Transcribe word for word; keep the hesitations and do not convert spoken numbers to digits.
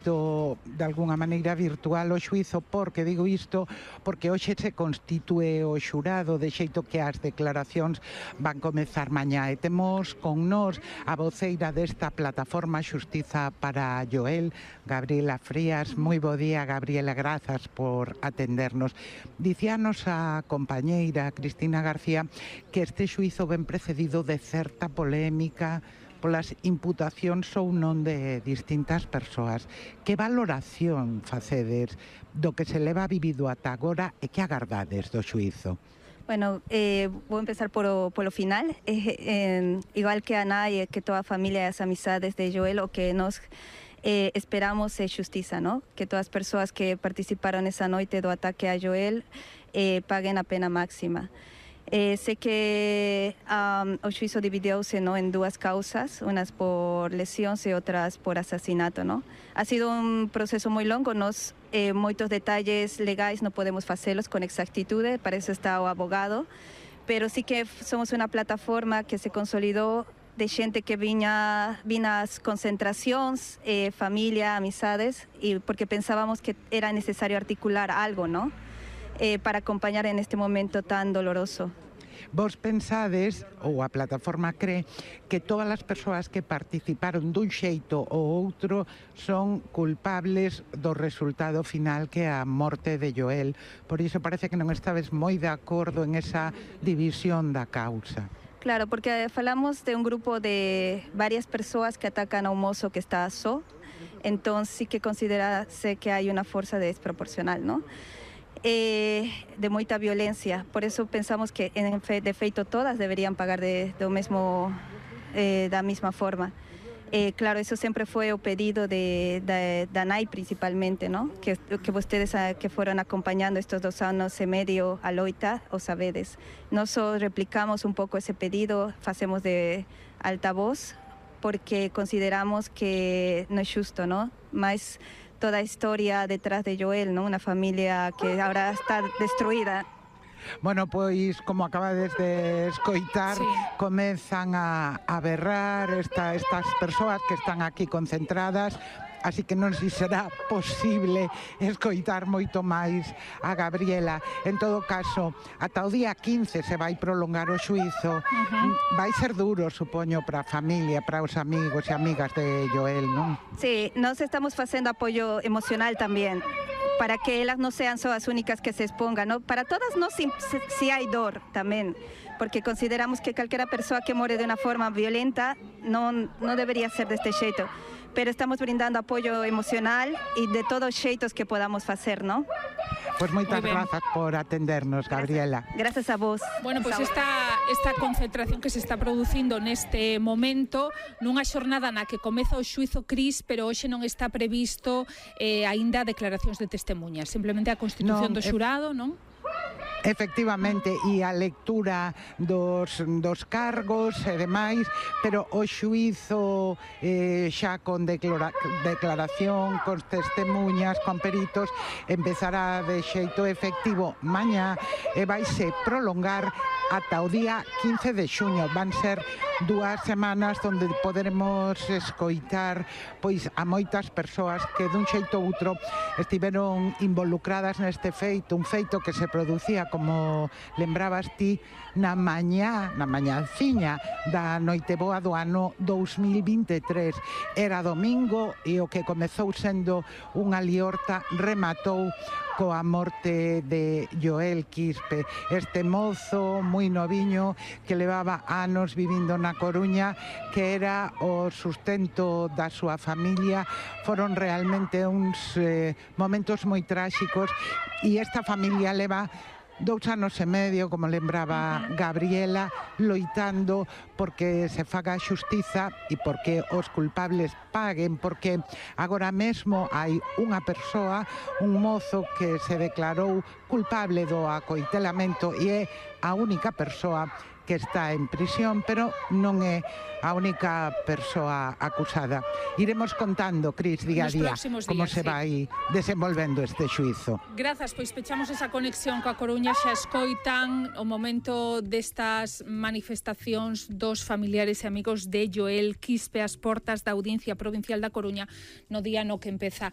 feito de algunha maneira virtual o xuízo, porque digo isto porque hoxe se constitúe o xurado, de xeito que as declaracións van comezar mañá, e temos con nós a voceira desta plataforma Xustiza para Joel, Gabriela Frías. Moi bo día, Gabriela, grazas por atendernos. Dicíanos a compañeira Cristina García que este xuízo ben precedido de certa polémica polas imputacións ou non de distintas persoas. Que valoración facedes do que se leva vivido ata agora e que agardades do xuízo? Bueno, eh, vou empezar por o, por o final. Eh, eh, igual que a Ana e que toda a familia e as amizades de Joel, o que nos eh, esperamos é xustiza, ¿no? Que todas as persoas que participaron esa noite do ataque a Joel eh, paguen a pena máxima. Eh, sé que um, o xuízo dividióse, ¿no?, en dúas causas, unas por lesións e outras por asasinato, ¿no? Ha sido un proceso moi longo, nos eh, moitos detalles legais non podemos facelos con exactitude, para eso está o abogado, pero sí que somos unha plataforma que se consolidou de xente que viña, viña as concentracións, eh, familia, amizades, e porque pensábamos que era necesario articular algo, ¿no?, Eh, para acompañar en este momento tan doloroso. Vos pensades, ou a plataforma cree, que todas as persoas que participaron dun xeito ou outro son culpables do resultado final, que é a morte de Joel. Por iso parece que non estabes moi de acordo en esa división da causa. Claro, porque falamos de un grupo de varias persoas que atacan a un mozo que está só, entón sí que considerase que hai unha forza desproporcional, ¿no?, Eh, de moita violencia. Por eso pensamos que en fe, de feito todas deberían pagar de, do mesmo, eh, da mesma forma. Eh, claro, eso sempre foi o pedido de, de, da N A I principalmente, ¿no?, que, que vostedes a, que foron acompañando estos dos anos e medio a loita, o sabedes. Nos replicamos un pouco ese pedido, facemos de altavoz, porque consideramos que non é xusto, ¿no?, mas toda a historia detrás de Joel, ¿no?, unha familia que ahora está destruída. Bueno, pois, como acabades de escoitar, sí, comezan a, a berrar esta, estas persoas que están aquí concentradas, así que non si será posible escoitar moito máis a Gabriela. En todo caso, ata o día quince se vai prolongar o xuízo. Uh-huh. Vai ser duro, supoño, para a familia, para os amigos e amigas de Joel, non? Sí, nos estamos facendo apoio emocional tamén, para que elas non sean só as únicas que se expongan, ¿no? Para todas nós si, si hai dor tamén, porque consideramos que calquera persoa que more de unha forma violenta non, non debería ser deste xeito, pero estamos brindando apoio emocional e de todos os xeitos que podamos facer, ¿no? Pois moitas grazas por atendernos, Gabriela. Gracias a vos. Bueno, pois pues esta, esta concentración que se está producindo neste momento nunha xornada na que comeza o xuízo, Cris, pero hoxe non está previsto eh, aínda declaracións de testemunhas, simplemente a constitución non, do xurado, non? Efectivamente, e a lectura dos, dos cargos e demais, pero o xuízo eh, xa con declara, declaración, con testemunhas, con peritos, empezará de xeito efectivo mañá e vaise prolongar ata o día quince de xuño. Van ser dúas semanas onde poderemos escoitar pois a moitas persoas que dun xeito ou outro estiveron involucradas neste feito, un feito que se producía, como lembrabas ti, na mañá, na mañanciña da Noiteboa do ano dous mil vinte e tres. Era domingo e o que comezou sendo unha liorta rematou coa morte de Joel Quispe, este mozo moi noviño que levaba anos vivindo na Coruña, que era o sustento da súa familia. Foron realmente uns eh, momentos moi tráxicos, e esta familia leva dous anos e medio, como lembraba Gabriela, loitando porque se faga xustiza e porque os culpables paguen, porque agora mesmo hai unha persoa, un mozo que se declarou culpable do acoitelamento e é a única persoa que está en prisión, pero non é a única persoa acusada. Iremos contando, Cris, día a día, como días, se sí. vai desenvolvendo este xuízo. Grazas, pois pechamos esa conexión coa Coruña. Xa escoitan o momento destas manifestacións dos familiares e amigos de Joel Quispe ás portas da Audiencia Provincial da Coruña no día no que empeza